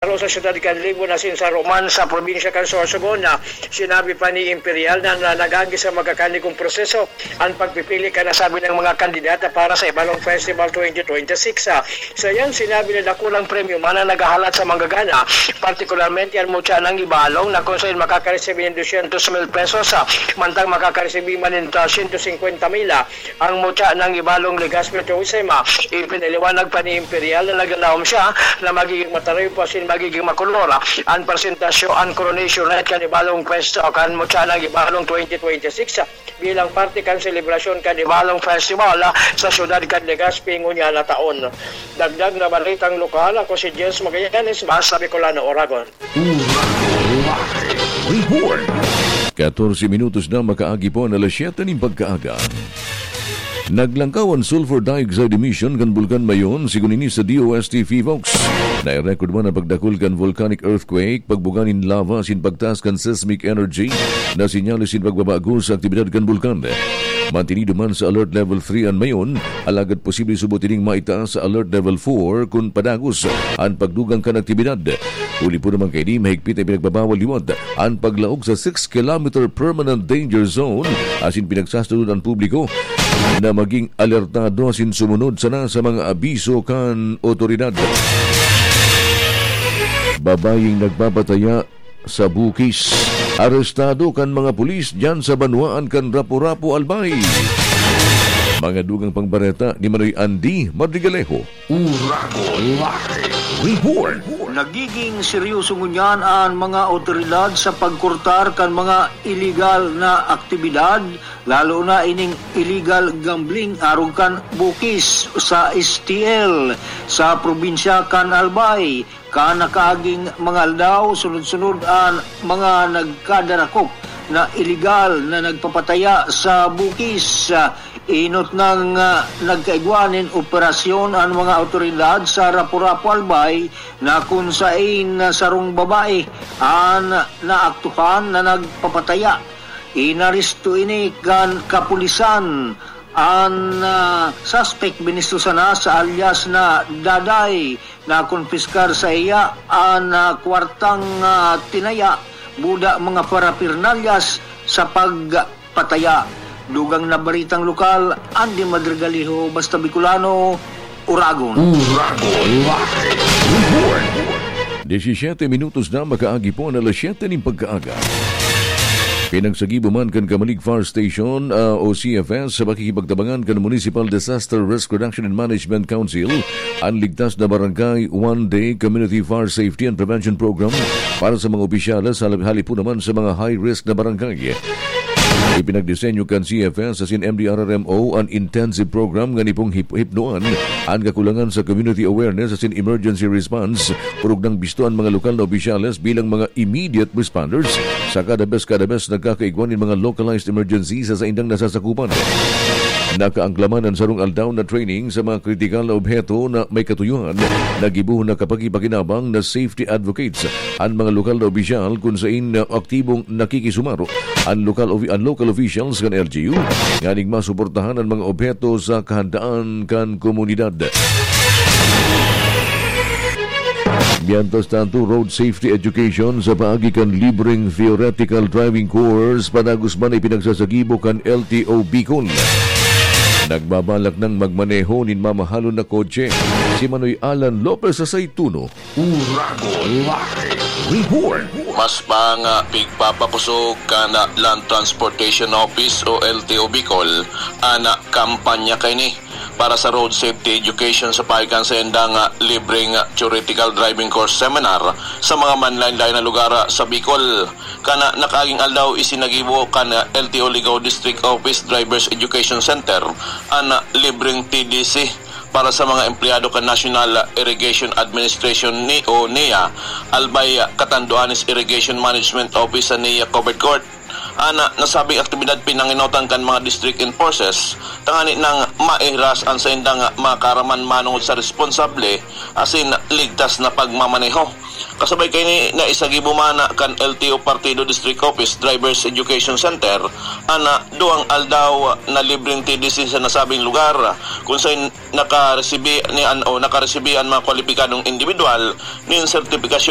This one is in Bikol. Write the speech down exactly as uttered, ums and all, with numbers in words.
Saro sa siyudad kan Libon asin saro man sa probinsya kan Sorsogon, na sinabi pa ni Imperial na, na nag-agi sa magkakanigong proseso an pagpipili kan nasabing mga kandidata para sa Ibalong Festival twenty twenty-six. Ah, sa yan, sinabi na dakulang premyo man ang naghahalat sa manggagana, partikularmente ang mutya ng Ibalong, na kung saan makakaresibi ng dosyentos mil pesos, ah, mantang makakaresibi man ng, ah, siyento singkwenta mil, ah, ang mutya ng Ibalong Legazpi Tourism. Ah, ipinaliwanag pa ni Imperial na nagdadaom siya na magiging matarayo pa asin magiging makolor, ah, ang presentasyon, ang coronation night kan Ibalong Fest, ah, kan mutya ng Ibalong twenty twenty-six, ah, bilang parte kan selebrasyon kan Ibalong Festival, ah, sa siyudad kan Legazpi ngunyan na taon. Dagdag na balitang lokal, ako si Jens Magallanes, Basta Bicolano, Oragon. Oragon Live Report. Katorse minutos na makaagi po an alas siyete nin pagkaaga. Naglangkaw an sulfur dioxide emission kan Bulkan Mayon, sigon ini sa D O S T PHIVOLCS. Nai-record man an pagdakul kan volcanic earthquake, pagbuga nin lava asin pagtaas kan seismic energy na senyales nin pagbabago sa aktibidad kan bulkan. Mantinido man sa Alert Level three an Mayon, alagad posible subot ining maitaas sa Alert Level four kun padagos an pagdugang kan aktibidad. Huli po naman kaini, mahigpit na pinagbabawal liwat an paglaog sa six kilometer permanent danger zone, asin pinagsasabi an publiko na maging alertado asin sumunod sana sa mga abiso kan otoridad. Babayeng nagpapataya sa bukis, arestado kan mga pulis diyan sa banwaan kan Rapu-Rapu, Albay. Mga dugang pang bareta ni Manoy Andy Madrigalejo. Oragon Live Report. Nagiging seryoso ngunyan an mga otoridad sa pagkortar kan mga iligal na aktibidad, lalo na ining illegal gambling arog kan bukis sa S T L sa probinsya kan Albay, kan nakaaging mga aldaw. Sunod-sunod an mga nagkadarakop na iligal na nagpapataya sa bukis. Inot nang, ah, nagkaigwa nin operasyon an mga awtoridad sa Rapu-Rapu, Albay, na kun sain, ah, sarong babae an naaktuhan na nagpapataya. Inaresto ini kan kapulisan. An, ah, suspect binisto sana sa alias na Daday. Nakonpiskar saiya an, ah, kwartang, ah, tinaya, buda, mga parapernalyas sa pagpataya. Dugang na baritang lokal, Andy Madrigaliho, Basta Bicolano, Oragon. Oragon Live Report. Disisyete minutos na makaagi po an alas siyete nin pagkaaga. Pinagsagibo man kan Camalig Fire Station, ah, o C F S, sa pakikipagtabangan kan Municipal Disaster Risk Reduction and Management Council, an Ligtas na Barangay One Day Community Fire Safety and Prevention Program para sa mga opisyales, halip, halip po naman sa mga high-risk na barangay. Ipinagdisenyo kan C F S asin M D R R M O an intensive program ngani pong hip-, hipnoan an kakulangan sa community awareness asin emergency response. Orog nang bisto an mga lokal na opisyales bilang mga immediate responders, saka the best, kada best nagkakaigwa nin mga localized emergency sa saindang nasasakupan. Nakaangklaman an sarong aldaw na training sa mga kritikal na obheto na may katuyohan na gibohon na kapakipakinabang na safety advocates an mga lokal na opisyal, kun sain na aktibong nakikisumaro an lokal ofi-, an local officials kan L G U, nganing masuportahan an mga obheto sa kahandaan kan komunidad. Mientras tanto, road safety education sa paagi kan libreng theoretical driving course padagos man ipinagsasagibo kan L T O Bicol. Nagbabalak nang magmaneho nin mamahalon na kotse si Manoy Alan Lopez sa Saituno. Oragon Live Report. Mas pa nga pigpapakosog kan Land Transportation Office o L T O Bicol an kampanya kaini para sa road safety education sa paagi kan saindang libreng theoretical driving course seminar sa mga manlaen-laen na lugar sa Bicol. Kan nakaaging aldaw isinagibo kan L T O Ligao District Office Drivers Education Center an libreng T D C para sa mga empleyado kan National Irrigation Administration ni o NIA, Albay, Catanduanes Irrigation Management Office sa NIA Covered Court. An nasabing aktibidad pinanginotan kan mga district enforcers tangani nang maihiras an saindang mga kaaraman manongod sa responsable asin ligtas na pagmamaneho. Kasabay kaini, naisagibo man kan L T O Partido District Office Drivers Education Center an duwang aldaw na libreng T D C sa nasabing lugar, kun sain nakaresibi ni an o nakaresibi an mga kwalipikadong individual nin sertipikasyon